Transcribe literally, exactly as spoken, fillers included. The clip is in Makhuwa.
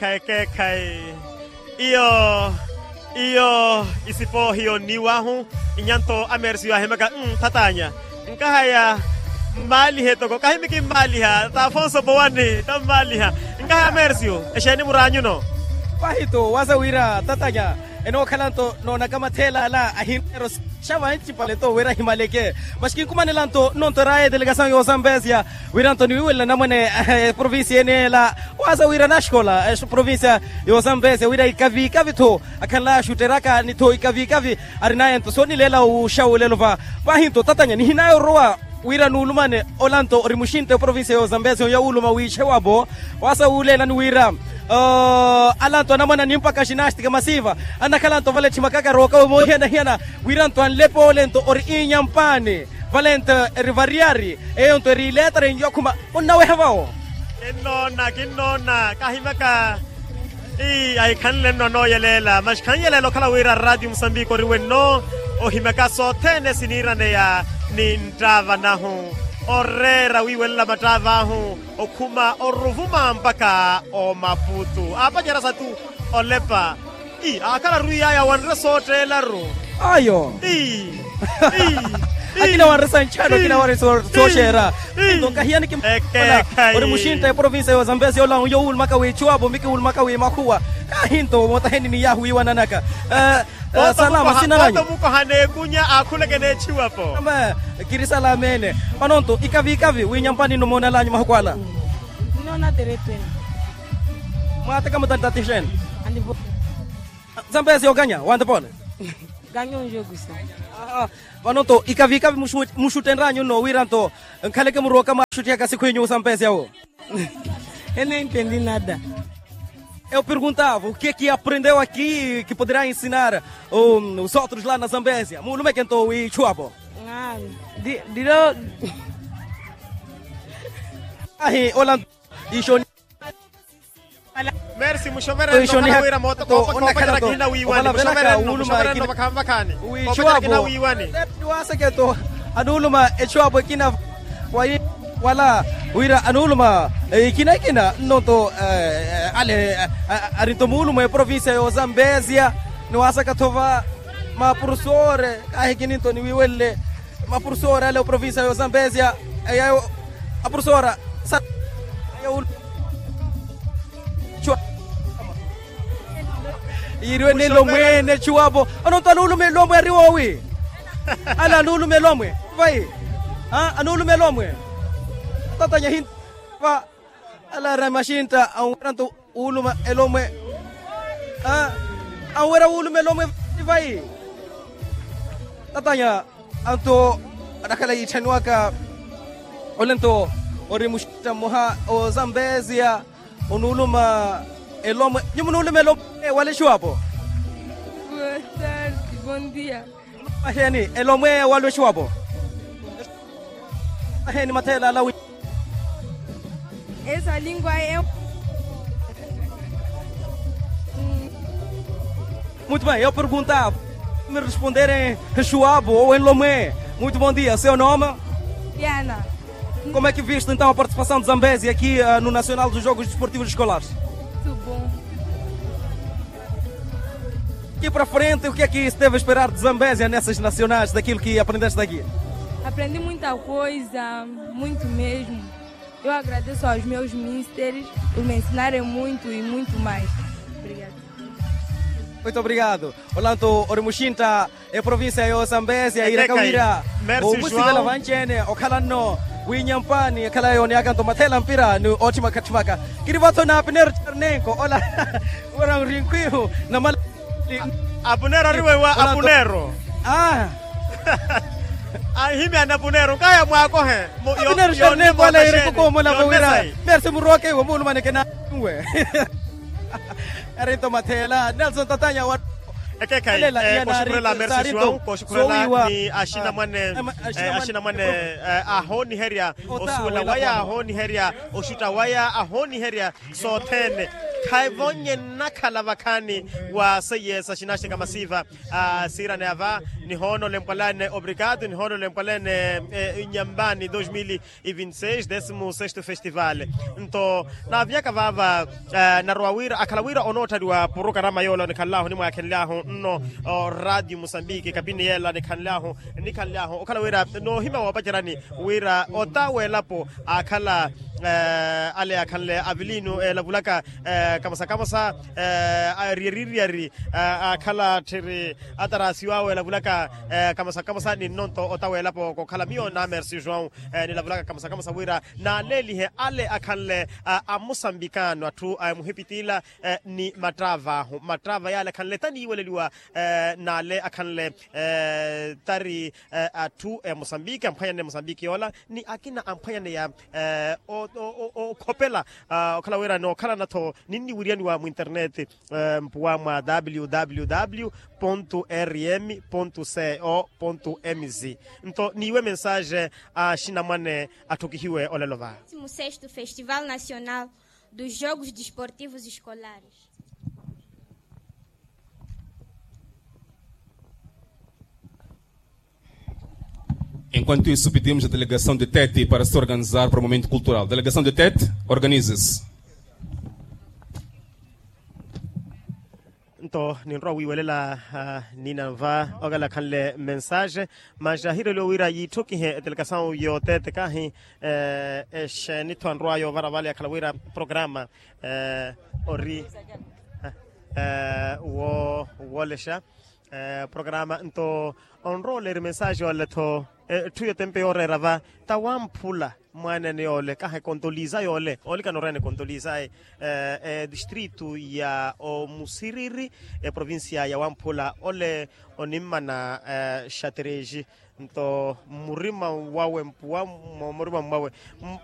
Ekeekhayi ekeekhayi. Iyo iyo isipo hiyo nniiwahu. Inyanto amersiyo ahimaka, thatanya nkahaya mmaalihe toko kahimiki mmaaliha ta afonso powani ta mmaaliha. Nkahaya amersiyo exeeni muraanyuno? Pahito wasa wira tatanya enookhala-nto noonaka matheela ala ahineero. Xa vancipale-to wira ahimaleke. Maxi kinkumanela-nto nnonto eraya edelegasawu y'osambesia wira-nto niwiiwelela namwene eprovincia ene ela. Wasa wira naxikola eprovincia y'osambesia wira ikaviikavi-tho akhanlaya axutteraka ni-tho ikaviikavi arinaya-nto soonileela wuxawulelo va. Paahi-nto tatanya nihinaya orowa wira nuulumane ola-nto ori muxintta eprovincia y'osambesia oya wuuluma wiixe wapo. Wasa wuuleelani wira ala-nto anamwane animpaka xinastika masiiva annakhala-nto vale etthimakaka arooka womoohiyana-hiyana wira-nto anlepa ole-nto ori inyampaani vale-nto eri variyari eyo-nto eri ileetara enyu akhuma. Onnaweha vawo? Kinnoona kinnoona kahimaka. Ii ahikhanle nno anooyeleela maxi khanyelela okhala wira rratio musambiki ori wenno ohimaka sothene siniiraneya ni nttaava nahu oreera wiiwelela mattaav'ahu okhuma oruvuma mpakha omaputu aapacerya satu olepa. Ii aakhala arwiiy'aya wanre sootteelaru. Ayo ii akina wanre sanchano akina wanre sooxeera. Nto nkahiyani kimala ori muxintta eprovincia y'osambesia ola uyo wuulumaka wiichuwapo miki wuulumaka wiimakhuwa. Kaahi-nto mootaheni ni yaahu wiiwananaka. Salama sinananyu? Mukoha n'ekunya aakhuleke n'echiwapo. Kiri salama ene. Vano-nto ikaviikavi wiinyampani nno moonalanyu mahuku ala? Nnoona terettwene. Mwaateka mutantatixene? Zambezi okanya wantepole. Ganyo njogusa. Vano-nto ikaviikavi muxuttenranyu nno wira-nto nkhaleke murooka mwaaxuttihaka sikhwinyu zambezi awo? Ene entendi nada. Eu perguntava o que é que aprendeu aqui que poderá ensinar os outros lá na zambezia muulumeke-nto wiichuwapo? Dilo. Ahi ola. Ixoni. Merci muxoverento khala wira mootoko opakha opacera kihina wiiwani muxoverento muxoverento vakhaani. Opacera kihina wiiwani. Waaseketo anuuluma echuwapo ekina wala wira anuuluma ekina ekina nnonto ale arinto muuluma eprovincia y'ozambezia. Ni waasaka-tho va mapurusore kaahikini-nto niwiiwelele mapurusore ale oprovincia y'ozambezia. Eyayo apurusora sa eyayo. Yiiriwe nelo mwene echuwapo. Anonto anuulume elomwe ari woowi? Ala anuulume elomwe vai? Anuulume elomwe. Tatanya hinto va. Ala ari amaxintta anwera nto wuuluma elomwe. Anwera wuuluma elomwe vai? Tatanya anto anakhala yiitthaniwaka. Ole nto ori muxintta mmoha ozambezia onuuluma elomwe. Nyuwo munuuluma elomwe wala exuwapo? Aheni elomwe wala exuwapo? Aheni matheela ala wi? Esa lingua e muito bem eu pergunta me responderem. Exuwapo ou enlomwe. Muito bom dia seu nome? Diana. Como é que viste então a participação de zambezia aqui no nacional dos jogos desportivos escolares? Muito bom. Aqui para frente o que é que se deve esperar de zambezia nessas nacionais daquilo que aprendeste aqui? Aprendi muita coisa. Muito mesmo. Eu agradeço aos meus misteres por me ensinarem muito e muito mais. Obrigada. Muito obrigado. Olanto ori muxintta eprovincia y'ozambezia yiiraka wira omusikela vanci-ene okhala nno winyampani ekhala yooneyaka nto matheela mpira ni ootthimaka-tthimaka. Kiri vatho na apunero charnenko ola wira nrinkwihu namala. Apunero ari weiwa apunero. Anhimyani apunero nkaya mwaakohe. Apunero charnenko ola yiiraka okoomola vo wira merci murooke iwe muulumaneke na nwe. Erinto matheela nelson tatanya wa. Ekekhayi kooxukhurela mersi joão kooxukhurela ni axinamwane. Axinamwane ahooniherya osuwela waya ahooniherya oxutta waya ahooniherya sothene. Khaivonye nnakhala vakhaani wa seiye sa xinaxeka masiva. Siirane ava, nihoono lempwalane obrigado nihoono lempwalane nyambani dos mil e vinte e seis décimo sexto festival. Nto naaviyaka vaava, narowa wira akhala wira onoottaliwa porokarama yoola onikhanlahu onimwaakhenlyahu nno radio musambiki kapini yeela nikhanlyahu nikhanlyahu okhala wira noohimya woopacerani wira ota w'elapo aakhala ale akhanle avilinu elavulaka kamosa kamosa ariyariiriyari aakhala tthiri atarasiw'awe elavulaka kamosa kamosa ni nnonto ota w'elapo kokhala miyo namersi joão nilavulaka kamosa kamosa wira naaleelihe ale akhanle amusambikano atthu a muhipitila ni mattraava ahu mattraava yaale akhanle taniiweleliwa naale akhanle tari atthu a musambiki amphwanyanne musambiki yoola ni akina amphwanyaneya okhopela okhala wira nookhalana-tho ninniwiriyaniwa mwinterneti mpuwa mwa www rm co mz nto niiwe mensaaje a xinamwane atthukihiwe olelo va. Sexto festival nacional dos jogos desportivos escolares. Enquanto isso pedimos a delegação de tete para se organizar para o momento cultural delegação de tete organize-se. Nto ninrowa wiiwelela nina nva okela akhanle mensaaje. Masi ahireeliwe wira yiitthokihe etelegasawu yootete kahi exeeni-tho anrowaya ovara vale akhala wira programa ori woolexa programa nto onrowa oleeri mensaaje yoole-tho. Etthu yotempe yooreera va tawamphula mwaanene yoole kaha ekontoliza yoole olikana oreena ekontoliza ayi edistritu ya omusiriri eprovincia ya wamphula ole onimmana xatereji nto mmurima wawe mpuwa mmurima mwawe